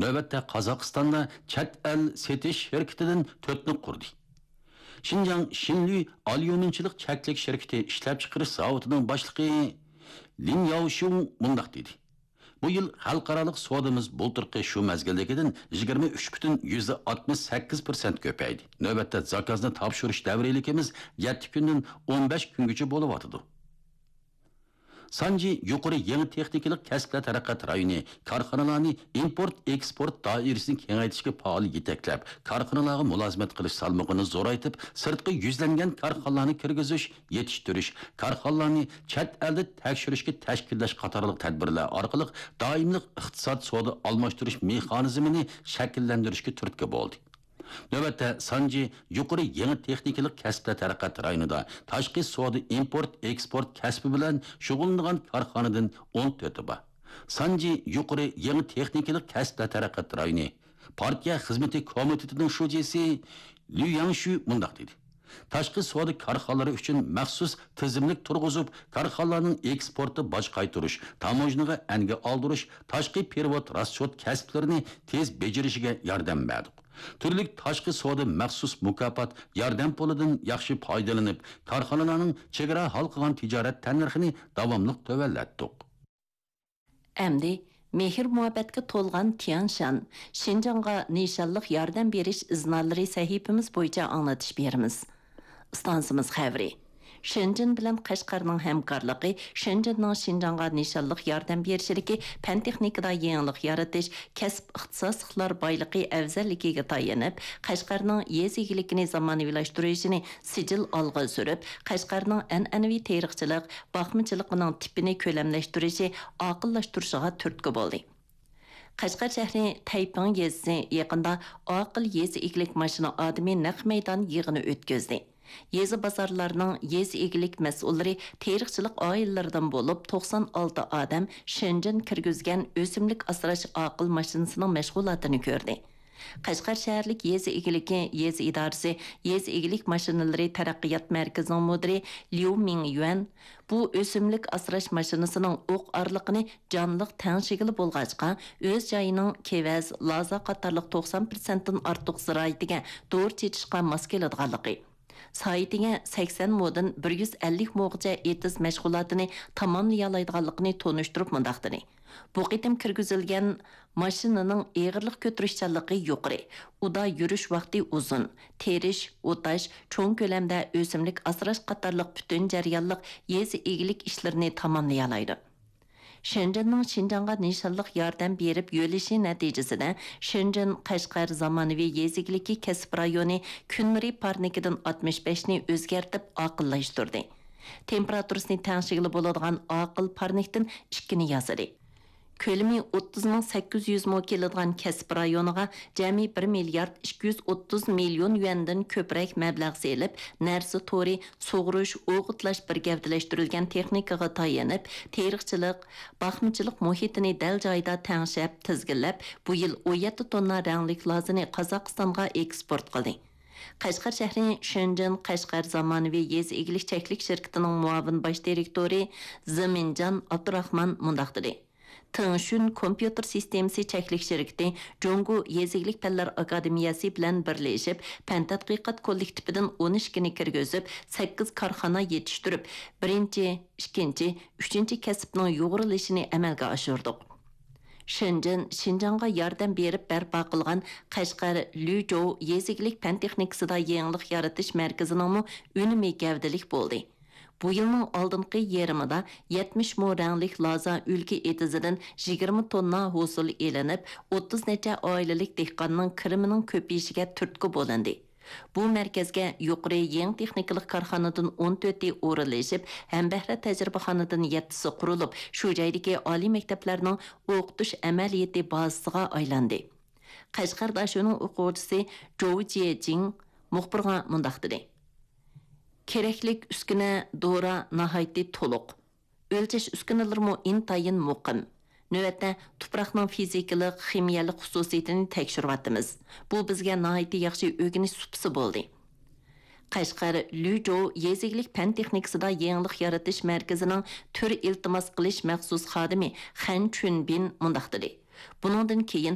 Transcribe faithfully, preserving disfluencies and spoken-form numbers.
نۆۋەتتە قازاقىستاندا چەت ئەل سېتىش شىركىتىدىن تۆتنى قۇردى. شىنجاڭ شىنلۈي ئاليۇمىنچىلىق چەكلىك شىركىتى ئىشلەپچىقىرىش زاۋۇتىنىڭ باشلىقى لىن ياۋشۇڭ مۇنداق دېدى: «بۇ يىل خەلقئارالىق سودىمىز بۇلتۇرقى شۇ مەزگىلدىكىدىن يىگىرمە ئۈچ پۈتۈن يۈزدە ئاتمىش سەككىز پىرسەنت كۆپەيدى. نۆۋەتتە زاكازنى تاپشۇرۇش دەۋرىيلىكىمىز يەتتە كۈندىن ئون بەش كۈنگىچە بولۇۋاتىدۇ.» سانجى يۇقىرى يېڭى تېخنىكىلىق كەسىپلەر تەرەققىيات رايونى كارخانىلارنى ئىمپورت ئېكسپورت دائىرىسىنى كېڭەيتىشكە پائال يېتەكلەپ، كارخانىلارغا مۇلازىمەت قىلىش سالمىقىنى زورايتىپ، سىرتقا يۈزلەنگەن كارخانىلارنى كىرگۈزۈش، يېتىشتۈرۈش، كارخانىلارنى چەت ئەلدە تەكشۈرۈشكە تەشكىللەش قاتارلىق تەدبىرلەر ئارقىلىق دائىملىق ئىقتىساد سودا ئالماشتۇرۇش مېخانىزمىنى شەكىللەندۈرۈشكە تۈرتكە بولدى. نۆۋەتتە سانجى يۇقىرى يېڭى تېخنىكىلىق كەسىپلەر تەرەققىيات رايونىدا تاشقى سودا ئىمپورت ئېكسپورت كەسپى بىلەن شۇغۇللىنىدىغان كارخانىدىن ئون تۆتى بار. سانجى يۇقىرى يېڭى تېخنىكىلىق كەسىپلەر تەرەققىيات رايونى پارتىيە خىزمىتى كومىتېتىنىڭ شۇجىسى ليۇ ياڭشۈ مۇنداق دېدى: «تاشقى سودا كارخانىلىرى ئۈچۈن مەخسۇس تىزىملىك تۇرغۇزۇپ، كارخانىلارنىڭ ئېكسپورتتا باج قايتۇرۇش، تاموژنىغا ئەنگە ئالدۇرۇش، تاشقى پېرېۋوت راسچوت كەسىپلىرىنى تېز بېجىرىشىگە ياردەم بەردۇق. تۈرلۈك تاشقى سودا مەخسۇس مۇكاپات ياردەم پۇلىدىن ياخشى پايدىلىنىپ، كارخانىلارنىڭ چېگرا ھالقىغان تىجارەت تەننىرخىنى داۋاملىق تۆۋەنلەتتۇق.» ئەمدى مېھىر-مۇھەببەتكە تولغان تيانشان، شىنجاڭغا نىشانلىق ياردەم بېرىش ئىزنالىرى سەھىپىمىز بويىچە ئاڭلىتىش بېرىمىز. ئىستانسىمىز خەۋىرى. شېنجېن بىلەن قەشقەرنىڭ ھەمكارلىقى، شېنجېننىڭ شىنجاڭغا نىشانلىق ياردەم بېرىشىدىكى پەن-تېخنىكىدا يېڭىلىق يارىتىش، كەسىپ ئىختىساسلىقلار بايلىقى ئەۋزەللىكىگە تايىنىپ، قەشقەرنىڭ يېزا ئىگىلىكىنى زامانىۋىلاشتۇرۇشىنى سىجىل ئالغا سۈرۈپ، قەشقەرنىڭ ئەنئەنىۋى تېرىقچىلىق، باقمىچىلىقىنىڭ تىپىنى كۆلەملەشتۈرۈشى، ئاقىللاشتۇرۇشىغا تۈرتكە بولدى. قەشقەر شەھىرى تەيپىڭ يېزىسى يېقىندا ئاقىل يېزا ئىگىلىك ماشىنا ئادىمى نەق مەيدان يىغىنى ئۆتكۈزدى. يېزا بازارلارنىڭ يېزا ئىگىلىك مەسئۇللىرى تېرىقچىلىق ئائىلىلىرىدىن بولۇپ، توقسان ئالتە ئادەم شېنجېن كىرگۈزگەن ئۆسۈملۈك ئاسراش ئاقىل ماشىنىسىنىڭ مەشغۇلاتىنى كۆردى. قەشقەر شەھەرلىك يېزا ئىگىلىكى يېزا ئىدارىسى يېزا ئىگىلىك ماشىنىلىرى تەرەققىيات مەركىزىنىڭ مۇدىرى ليۇ مىڭيۈەن بۇ ئۆسۈملۈك ئاسراش ماشىنىسىنىڭ ئوق ئارىلىقىنى جانلىق تەڭشىگىلى بولغاچقا، ئۆز جايىنىڭ كېۋەز، لازا قاتارلىق توقسان پىرسەنتتىن ئارتۇق زىرائىتىگە دورا چېچىشقا ماس كېلىدىغانلىقى، سائىتىگە سەكسەن مودىن بىر يۈز ئەللىك موغىچە ئېتىز مەشغۇلاتىنى تاماملىيالايدىغانلىقىنى تونۇشتۇرۇپ مۇنداق دېدى: «بۇ قېتىم كىرگۈزۈلگەن ماشىنىنىڭ ئېغىرلىق كۆتۈرۈشچانلىقى يۇقىرى، ئۇدا يۈرۈش ۋاقتى ئۇزۇن، تېرىش، ئوتاش، چوڭ كۆلەمدە ئۆسۈملۈك ئاسراش قاتارلىق پۈتۈن جەريانلىق يېزا ئىگىلىك ئىشلىرىنى تاماملىيالايدۇ.» شېنجېننىڭ شىنجاڭغا نىشانلىق ياردەم بېرىپ يۆلىشى نەتىجىسىدە، شېنجېن قەشقەر زامانىۋى يېزا ئىگىلىكى كەسىپ رايونى كۈن نۇرى پارنىكىدىن ئاتمىش بەشنى ئۆزگەرتىپ ئاقىللاشتۇردى. تېمپېراتۇرىسىنى تەڭشىگىلى بولىدىغان ئاقىل پارنىكتىن ئىككىنى ياسىدى. كۆلىمى ئوتتۇز مىڭ سەككىز يۈز مو كېلىدىغان كەسىپ رايونىغا جەمئىي بىر مىليارد ئىككى يۈز ئوتتۇز مىليون يۈەندىن كۆپرەك مەبلەغ سېلىپ، نەرسە تورى، سۇغۇرۇش، ئوغۇتلاش بىر گەۋدىلەشتۈرۈلگەن تېخنىكىغا تايىنىپ، تېرىقچىلىق، باقمىچىلىق مۇھىتىنى دەل جايىدا تەڭشەپ، تىزگىنلەپ، بۇ يىل ئون يەتتە توننا رەڭلىك لازىنى قازاقىستانغا ئېكسپورت قىلدى. قەشقەر شەھىرى شېنجېن قەشقەر زامانىۋى يېزا ئىگىلىك چەكلىك شىركىتىنىڭ مۇئاۋىن باش دىرېكتورى زېمىنجان ئابدۇراخمان مۇنداق دېدى: تېڭشۈن كومپيۇتېر سىستېمىسى چەكلىك شىركىتى جۇڭگو يېزا ئىگىلىك پەنلەر ئاكادېمىيەسى بىلەن بىرلىشىپ، پەن تەتقىقات كوللېكتىپىدىن ئون ئىككىنى كىرگۈزۈپ، سەككىز كارخانا يېتىشتۈرۈپ، بىرىنچى، ئىككىنچى، ئۈچىنچى كەسىپنىڭ يۇغۇرۇلۇشىنى ئەمەلگە ئاشۇردۇق. شېنجېن شىنجاڭغا ياردەم بېرىپ بەرپا قىلغان قەشقەر لۈجوۋ يېزا ئىگىلىك پەن تېخنىكىسىدا يېڭىلىق يارىتىش مەركىزىنىڭمۇ ئۈنۈمى گەۋدىلىك بولدى. بۇ يىلنىڭ ئالدىنقى يېرىمىدا يەتمىش مو رەڭلىك لازا ئۈلكە ئېتىزىدىن يىگىرمە توننا ھوسۇل ئېلىنىپ، ئوتتۇز نەچچە ئائىلىلىك دېھقاننىڭ كىرىمىنىڭ كۆپىيىشىگە تۈرتكە بولۇندى. بۇ مەركەزگە يۇقىرى يېڭى تېخنىكىلىق كارخانىدىن ئون تۆتى ئورۇنلىشىپ، ھەمبەھرە تەجرىبىخانىدىن يەتتىسى قۇرۇلۇپ، شۇ جايدىكى ئالىي مەكتەپلەرنىڭ ئوقۇتۇش ئەمەلىيىتى بازىسىغا ئايلاندى. قەشقەر داشۆنىڭ ئوقۇغۇچىسى جوۋ جيېجىڭ مۇخبىرغا مۇنداق دېدى: كېرەكلىك ئۈسكۈنە، دورا ناھايىتى تولۇق. ئۆلچەش ئۈسكۈنىلىرىمۇ ئىنتايىن مۇقىم. نۆۋەتتە تۇپراقنىڭ فىزىكىلىق، خىمىيەلىك خۇسۇسىيىتىنى تەكشۈرۈۋاتىمىز. بۇ بىزگە ناھايىتى ياخشى ئۆگىنىش سۇپىسى بولدى. قەشقەر لۈجوۋ يېزا ئىگىلىك پەن تېخنىكىسىدا يېڭىلىق يارىتىش مەركىزىنىڭ تۈر ئىلتىماس قىلىش مەخسۇس خادىمى خەن چۈنبىن مۇنداق دېدى: بۇنىڭدىن كېيىن